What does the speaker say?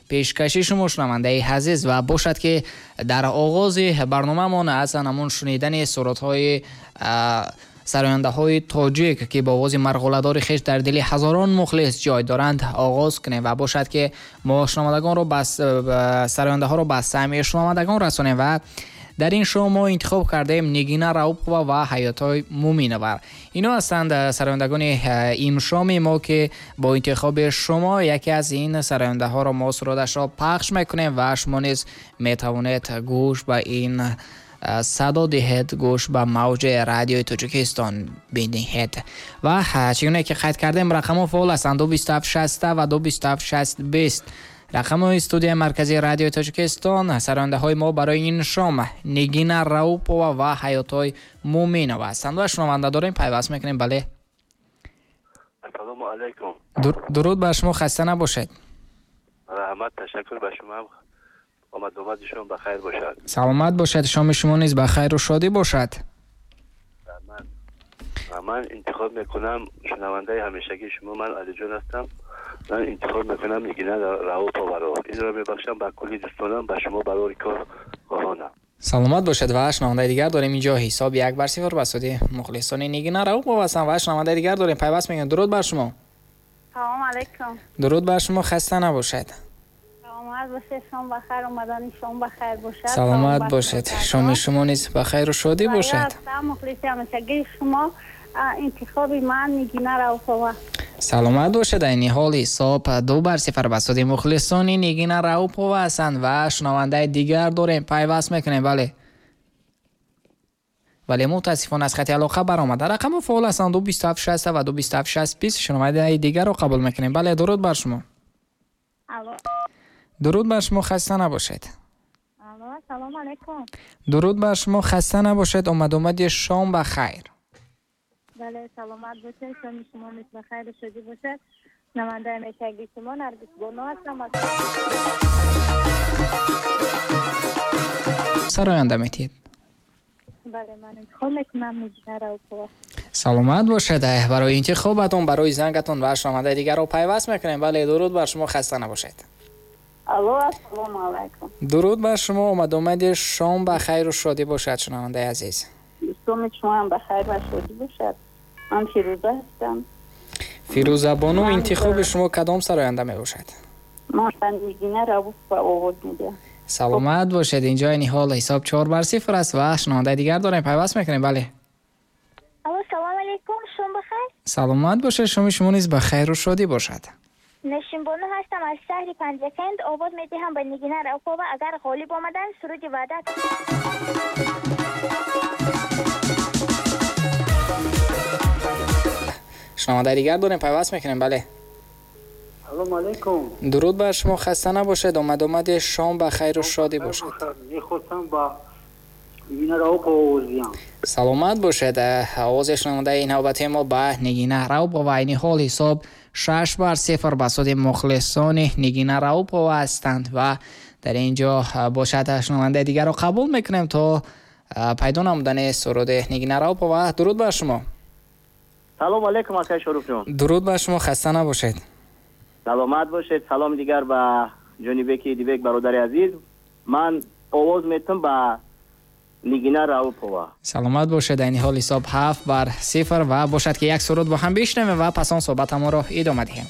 Пешкаши шумо, шунавандаи азиз, ва бошад, ки дар оғози барномаамон аз ҳамон шунидани сурудҳои сарояндаҳои тоҷик, ки бо овози марғуладори хеш дар дили ҳазорон мухлис ҷой доранд, оғоз кунем ва бошад, ки мо шунавандагонро ба сарояндаҳоро ба самъи шунавандагон расонем. Ва дар ин шоу мо интихоб кардаем Нигина Раупова ва Ҳаётой Муминова. Ино ҳастанд сарояндагони имшоми мо, ки бо интихоби шумо яке аз ин сарояндаҳоро мо сурудашро пахш мекунем ва шумо низ метавонед гӯш ба ин садо диҳед, гӯш ба мавҷи Радиои Тоҷикистон бидиҳед. Ва чӣ гуне ки қайд кардем, рақамҳо фаъол ҳастанд: 2 27 60 ва 2 27 60 20, рақамҳои студияи марказии Радиои Тоҷикистон. Сарояндаҳои мо барои ин шом Нигина Раупова ва Ҳаётой Муминова ҳастанд. Ва шунаванда дорем, пайваст мекунем. Бале. Ассалому алайкум. Дуруд бар шумо, хаста набошед. Раҳмат, ташаккур ба шумо. Омадомади шумо ба хайр бошад. Саломат бошед, шоми шумо низ ба хайру шодӣ бошад. Раҳмат. Ва ман интихоб мекунам, шунавандаи ҳамешагии шумо ман Алиҷон ҳастам. Ман интихоб мекунам Нигина Рауповаро. Инро мебахшам ба кулли дӯстонам, ба шумо барори кор хоҳонам. Саломат бошед. Ва шунавандаи дигар дорем. Инҷо ҳисоб 1 бар 0 ба суди мухлисони Нигина Раупова ҳастанд. Ва шунавандаи дигар дорем, пайваст мекунем. Дуруд бар шумо. Салом алейкум. Дуруд бар шумо, хаста набошед. Саломат бошед, шом ба хайр, омадани шом ба хайр бошад. Саломат бошед, шоми шумо низ ба хайру шодӣ бошад. Мухлиси ҳамешагии шумо, интихоби ман Нигина Раупова. Саломат бошед. Айни ҳол ҳисоб 2 бар 0 ба суди мухлисони Нигина Раупова ҳастанд. Ва шунавандаи дигар дорем, пайваст мекунем. Бале, вале мутаассифона аз хати алоқа баромада. Рақамҳо фаъол ҳастанд: 2 27 60 ва 2 27 60 20. Шунавандаи дигарро қабул мекунем. Бале, дуруд бар шумо. Дуруд бар шумо, хаста набошед. Салому алейкум. Дуруд бар шумо, хаста набошед, омадомади шом ба хайр. Бале, саломат бошед, шоми шумо низ ба хайру шодӣ бошад. Шунавандаи ҳамешагии шумо Наргис Боно ҳастам. Сароянда метиҳед? Бале, ман интихоб мекунам Нигина Раупова. Саломат бошед барои интихобатон, барои зангатон. Ва шунавандаи дигарро пайваст мекунем. Бале, дуруд бар шумо, хаста набошед. Алло, ассалому алайкум. Дуруд бар шумо, омадомади шом ба хайру шодӣ бошад, шунавандаи азиз. Шоми шумо ҳам ба хайр ва шодӣ бошад. Ман Фирӯза ҳастам. Фирӯзабону, интихоби шумо кадом сароянда мебошад? Ман ба Нигина Раупова овоз медиҳам. Саломат бошед. Инҷо айни ҳол ҳисоб 4 бар 0 аст. Ва шунавандаи дигар дорем, пайваст мекунем. Бале. Алло, салом алейкум, шом бахайр. Саломат бошед, шоми шумо низ ба хайру шодӣ бошад. Ношимбону ҳастам аз шаҳри Панҷакент. Овоз медиҳам ба Нигина Раупова. Агар ғолиб омаданд, суруди «Ваъда». Шунавандаи дигар дорем, пайваст мекунем. Бале. Салому алейкум. Дуруд бар шумо, хаста набошед, омадомади шом ба хайру шодӣ бошад. Мехостам ба Нигина Раупова овоз диҳам. Саломат бошед. Овози шунавандаи навбати мо ба Нигина Раупова. Айни ҳол ҳисоб 6 бар 0 ба суди мухлисони Нигина Раупова ҳастанд. Ва дар ин ҷо бошад, шунавандаи дигарро қабул мекунем то пайдо намудани суруди Нигина Раупова. Дуруд бар шумо. Салом алейкум, акай Шоруфҷон. Дуруд бар шумо, хаста набошед. Саломат бошед. Салом дигар ба Ҷонибеки Идибек, бародари азиз. Ман овоз метам ба Нигина Раупова. Саломат бошед. Айни ҳол ҳисоб 7 бар 0. Ва бошад, ки як суруд бо ҳам бишнавем ва пас он суҳбатамонро идома диҳем.